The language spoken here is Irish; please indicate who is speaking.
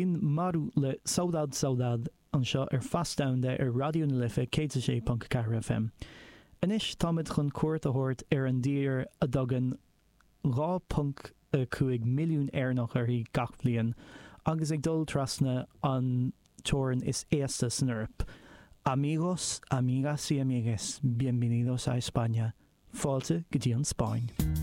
Speaker 1: B'in Maru le Saudade Saudade anseo ar Feas Domhanda ar Raidió na Life 106.4 FM. Anois táimid chun cuairt a thabhairt ar an dtír a dtagann 2.5 milliún Éireannach uirthi gach bliain agus ag dul trasna an teorainn is aosta san Eoraip. Amigos, amigas y amigues, bienvenidos a España. Fáilte go dtí an Spáinn.